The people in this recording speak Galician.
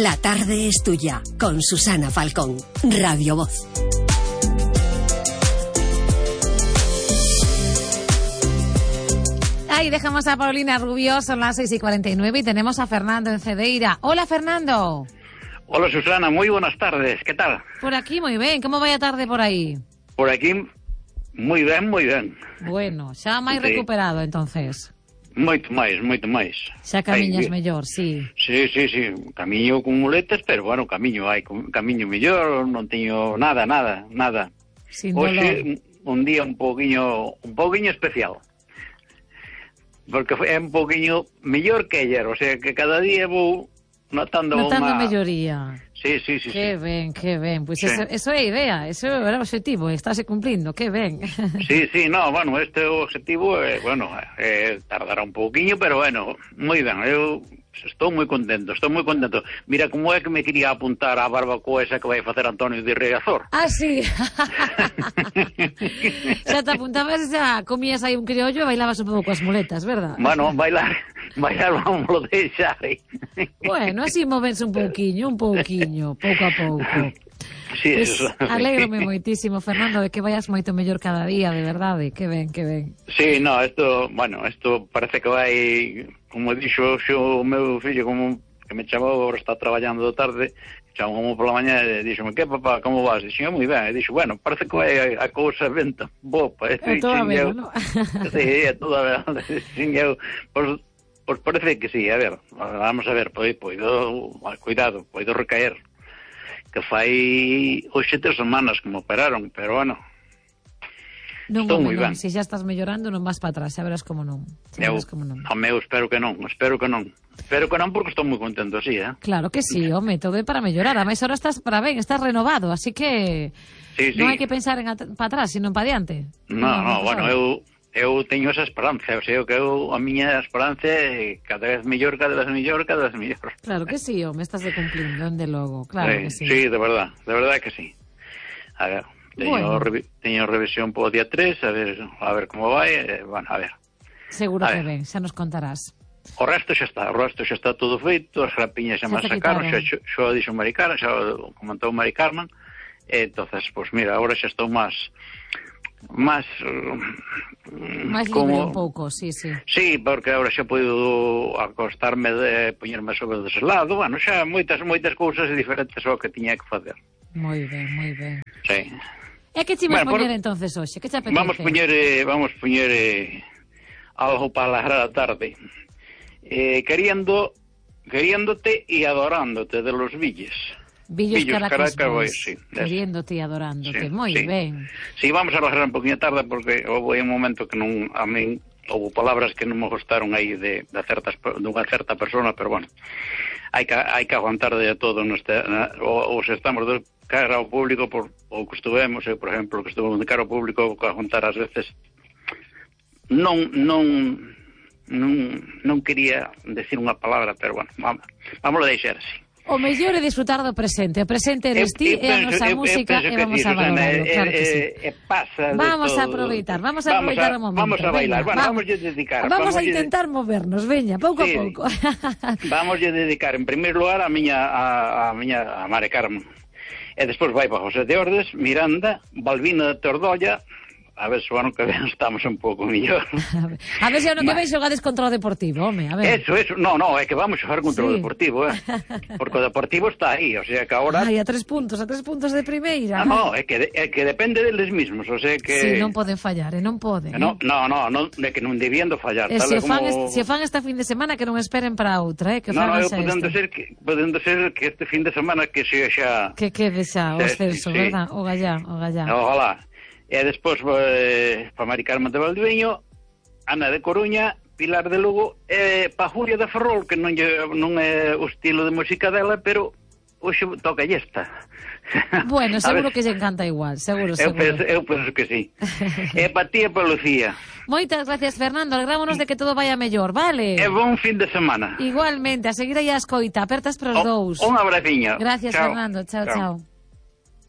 La tarde es tuya, con Susana Falcón, Radio Voz. Ahí dejamos a Paulina Rubio, son las 6:49 y tenemos a Fernando en Cedeira. Hola, Fernando. Hola, Susana, muy buenas tardes, ¿qué tal? Por aquí muy bien, ¿cómo vaya tarde por aí? Por aquí, moi ben, moi ben. Bueno, xa máis Sí. recuperado, entonces. Moito máis. Xa camiñas mellor, sí. Sí, camiño con muletas, pero bueno, camiño mellor, non teño nada. Sin dolor. Hoxe, un día un poquinho especial. Porque é un poquinho mellor que ayer, o sea, que cada día vou notando melloría. Sí. Que ben. Pois Sí. eso é a idea, eso é o objetivo, estáse cumplindo, que ben. Sí, no, bueno, este objetivo, tardará un pouquiño, pero bueno, moi ben, eu estou moi contento. Mira, como é que me quería apuntar á barbacoa esa que vai facer Antonio de Riazor. Ah, sí. Xa te apuntabas, xa comías aí un criollo e bailabas un pouco coas muletas, verdad? Bueno, bailar vamos lo deixar. Bueno, así movense un pouquiño, pouco a pouco. Sí, Pues, eso. alégrome moitísimo, Fernando, de que vayas moito mellor cada día, de verdade, que ben. Sí, no, esto parece que vai, como dixo o meu fillo, como que me chamou, agora está traballando de tarde, chamou pola mañá e dixome, que papá, como vas? Dixo, moi ben, e dixo, bueno, parece que vai a cousa venta bopa. É toda a ver, non? Sí, é toda a ver, sin eu, pois parece que sí, a ver, vamos a ver, cuidado, poido recaer, que fai hoxe 3 semanas que me operaron, pero bueno, estou moi ben. Se xa estás mellorando non vas para atrás, xa verás como non. Espero que non, porque estou moi contento así, Claro que sí, home, todo é para mellorar, a máis ahora estás para ben, estás renovado, así que sí. Non hai que pensar en para atrás, sino para diante. Bueno, eu teño esa esperanza, o sea, que a miña esperanza é cada vez mellor. Claro que sí, home, estás de cumplindo, onde logo, claro que sí. Sí, de verdad que sí. A ver, teño revisión po día 3, a ver como vai, bueno, a ver. Seguro que ben, xa nos contarás. O resto xa está todo feito, as grapiñas xa me sacaron, xa dixo Mari Carmen, xa comentou Mari Carmen, e entonces, pues mira, agora xa estou máis libre un pouco, sí. Sí, porque agora xa podo acostarme poñerme sobre dese lado, bueno, xa moitas cousas diferentes ao que tiña que facer. Moi ben. Sí. E que te vas poñer entonces hoxe? Que te apetece? Vamos poñer algo para alegrar a tarde. Queriéndote e adorándote de los Villes. Villos Caracas Boys, sí, queriéndote e adorándote, moi sí. Ben. Sí, vamos a alegrar un poquinho tarde porque houve un momento que non, a min houve palabras que non me gustaron aí dunha certa persona, pero bueno, hai que aguantar de todo os estamos de cara ao público o que estuvemos, por exemplo, que estuvemos de cara ao público, que aguantar ás veces non quería decir unha palabra, pero bueno, vamos a deixar así. O mellor é disfrutar do presente. O presente eres ti e a nosa música e vamos a valorarlo, claro que sí. Vamos a aproveitar o momento. Vamos a bailar, bueno, vamos a dedicar. Vamos a intentar movernos, veña, pouco a pouco. Vamos a dedicar, en primeiro lugar, a Mari Carmen. E despois vai para José de Ordes, Miranda, Balbina de Tordolla. A ver se o ano que ven estamos un pouco mellor. A ver se o ano que ven xogades contra o Deportivo, home, a ver. Eso, no, é que vamos xogar contra o Deportivo, porque o Deportivo está aí, o sea que agora... Ai, a 3 puntos de primeira. No, é que depende deles mismos, o sea que... Sí, non poden fallar, non poden. No, é que non debían de fallar. E se fan esta fin de semana que non esperen para outra, que fan esta. Podendo ser que este fin de semana que sea xa... Que quede xa o ascenso, verdad? O gallá. Ojalá. E despois para Mari Carmen de Valdeviño, Ana de Coruña, Pilar de Lugo e para Julia de Ferrol, que non é o estilo de música dela, pero hoxe toca esta. Bueno, seguro que lle encanta igual, seguro. Eu penso que sí. E para ti e para Lucía. Moitas gracias, Fernando, alegrámonos de que todo vaya mellor, vale? E bon fin de semana. Igualmente, a seguir aí a escoita, apertas para os dous. Un abraciño. Gracias, chao. Fernando, chao.